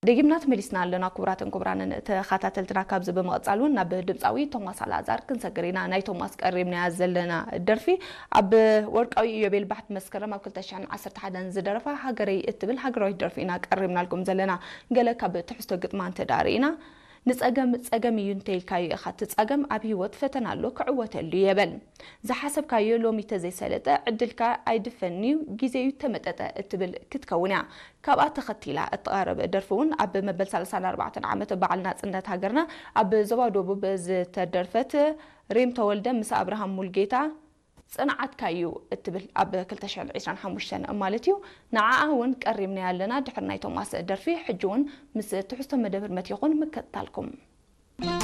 ደጊምና ተመሊስና ኣለና። ክቡራትን ክቡራንን ተኸታተልትና፣ ካብዚ ብምቕጻል እውን ናብ ድምጻዊ ቶማስ ኣልኣዛር ክንሰግር ኢና። ናይ ቶማስ ቀሪብናያ ዘለና ደርፊ ኣብ ወርቃዊ ኢዮቤል ባሕቲ መስከረም ኣብ ክልተ ሽሕን ዓሰርተ ሓደን ዝደረፋ ሃገረይ እትብል ሃገራዊት ደርፊ ኢና ቀሪብናልኩም ዘለና። ገለ ካብ ትሕዝቶ ግጥማ እንተ ደኣ ርኢና፣ ንጸገም ጸገም እዩ እንተ ኢልካዮ ኢኻ ትጻገም፣ ኣብ ህይወት ፈተና ኣሎ ክዕወተሉ እየ በል። ዝሓሰብካዮ ሎሚ ተዘይሰለጠ፣ ዕድልካ ኣይድፈን'ዩ፣ ግዜ'ዩ ተመጠጠ እትብል ክትከውን እያ። ካብኣ ተኸቲላ እትቐርብ ደርፊ እውን ኣብ መበል ሰላሳን ኣርባዕተን ዓመት በዓል ናጽነት ሃገርና ኣብ ዞባ ደቡብ ዝተደርፈት፣ ሬም ተወልደ ምስ ኣብርሃም ሙልጌታ ጽንዓትካ'ዩ እትብል ኣብ ክልተ ሽሕን ዕስራን ሓሙሽተን ማለት እዩ። ንዓኣ እውን ቀሪብናያ ኣለና። ድሕሪ ናይ ቶማስ ደርፊ ሕጂ እውን ምስ ትሕዝቶ መደብ ህርመት ይኹን ምክትታልኩም።